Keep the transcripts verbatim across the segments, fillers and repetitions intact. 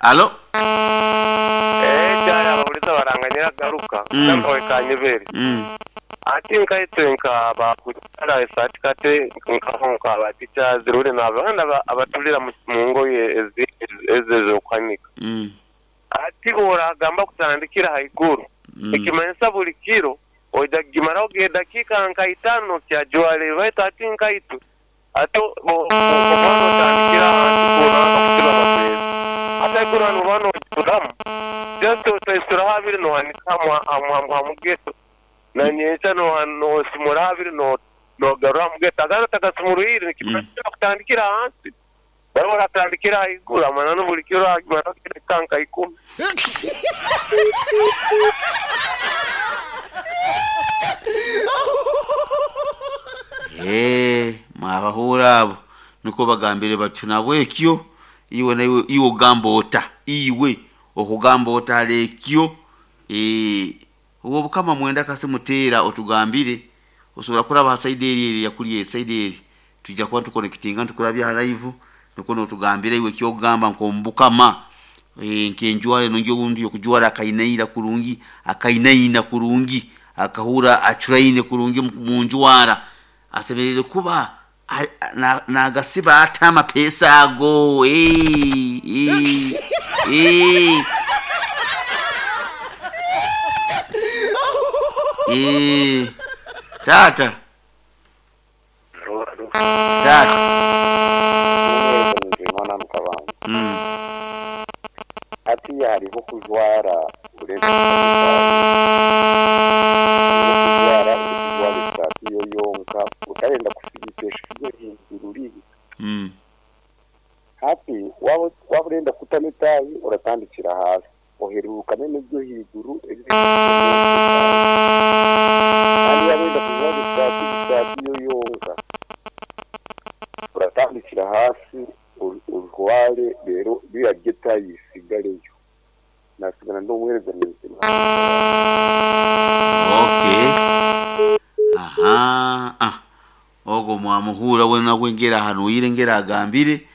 Alo. Eh, kyaya ababuliza baranganyira garuka Mm. namwe kanyebere. Mm. Ati nkaitwe nka bakukyala esaati kate nkaho nka batica zirure n'abaana aba- abatulira mu mu ngoye ezi- ezo ez'okuhanika. Mm. Ati oragamba kutandikira haiguru. Mm. Ekimanyisa buli kiro oija kugimaraho gedakiika nka itaano kyajwara baitu ati nkaitwe ate o- o- omwana otandikira ahansi kuranga kusiba amapeesa ate haiguru hanu oba nojuramu just otaisuraho abiri nohanika hamugeto na nyenkya noha- nosimura abiri no- nogarura hamugeto agandi otagasimurwire nikimanyisa kutandikira ahansi bariho baratandikira haiguru amananu buli kiro agimaraho gedakika nka ikumi. Eh, mwabahura abo niko bagambire batyo nabwekyo iwe naiwe iwe ogamba ota iwe okugamba ota alekyo eh obwo bukama mwenda kasi muteera otugambire osobola kuraba ha side eri eri yakuli e side eri tujja kuba tukonekitinga ntukurabya ha live niko notugambira iwe kyogamba nkombukama eh nkenjwale nonjo obundi okujwara akainaira kurungi akainaina kurungi akahura acuraine kurungi mu njwara asemerere kuba a- a- na- nagasiba ata amapesa ago eh, eh, eh. Eh, tata tata mwana mukabanga mm. ati hariho kujwara uretse kujwara kujwara isaati yo yonka utarenda kusigikesha ibyo hejuru ribi Mm. hafi waba waba urenda kutama itabi uratandikira hasi oherukane n'ibyo hejuru ebiri kandi waba wenda kujwara isaati isaati yo yonka uratandikira hasi ur- urware rero biriya by'itabi bisigareyo nasigara ndi umuhereza muzima. Okay, aha, ah ogwo mwamuhura wena gwengera ahanuire ngera agambire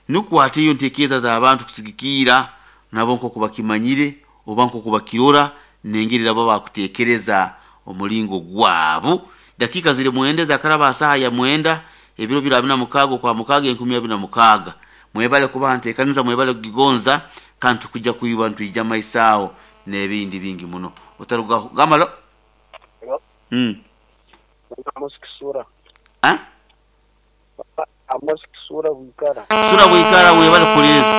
nukwata iyo ntekereza z'abantu kusigikiira nabo nkoku bakimanyire oba nkoku bakirora nengeri nabo bakutekereza omulingo gwabo. Dakika ziri mwenda zakaraba saha ya mwenda ebiro biro abiri na mukaaga kwa mukaaga enkumi abiri na mukaaga. Mwebale kuba nteekaniza, mwebale kugigonza kandi tukujja kuyuba ntwija maisaawo n'ebindi bingi muno otarugaho gamalo. Mm. Amos Kisura. Ah? Amos Kisura Bwikara. Sura bwikara webale kuliza.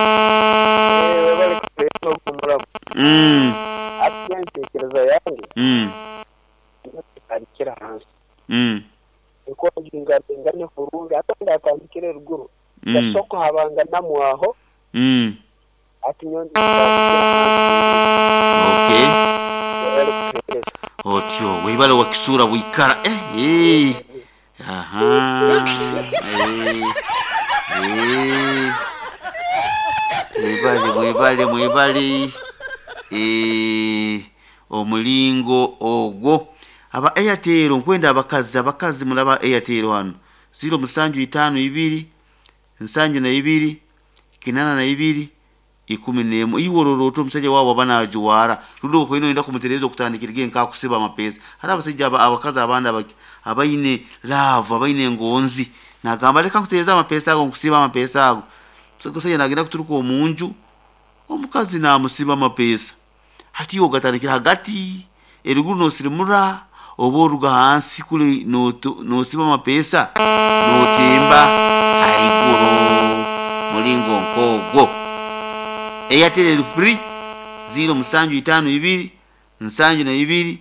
Eh, webale kuleta okumurabo. Mm. Ati entekereza yange Mm. atandikira hansi. Mm. Niko ngingane kurungi ate ndatandikira eruguru. Mm. Gasoko habanga namwaho Mm. ati nyondi ndatandikira hansi. Okay. Webale kutekereza. Otyo webale wakisura bwikara eh eh. Aha. Eh. Eh. Mwebale mwebale mwebale. Eh omulingo ogwo aba Airtel nkwenda abakazi abakazi mulaba Airtel hano ziro musanju itano ibiri nsanju na ibiri kinana na ibiri ikumi nemu iwororo omusajja waabo aba najuwara rundi okwina oyenda kumutereeza okutandikira ge nkakusiba amapesa hari abasajja aba- abakazi abandi abaki- abaine laavu abaine engonzi nagamba leka nkutereeza amapesa ago nkusiba amapesa ago omusajja nagenda kuturuka omunju omukazi namusiba amapesa hati iwe ogatandikira hagati eruguru nosirimura oba oruga hansi kule noto- nosiba amapesa notemba haiguru mulingo nkogwo. Airtel eri free ziro musanju itano ibiri nsanju na ibiri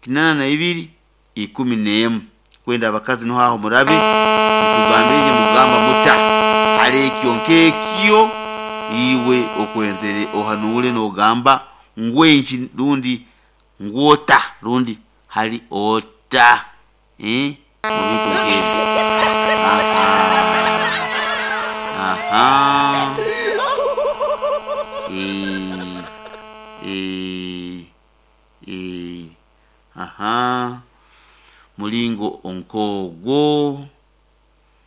kinana na ibiri ikumi n'emu kwenda abakazi niho aho murabe mutugambire nye mugamba muta hali ekyo nkekyo iwe okwenzere ohanure nogamba ngwenki rundi ngwota rundi hali ota eh mubintu nkebyo. Aha aha eh eh eh aha mulingo onkogwo.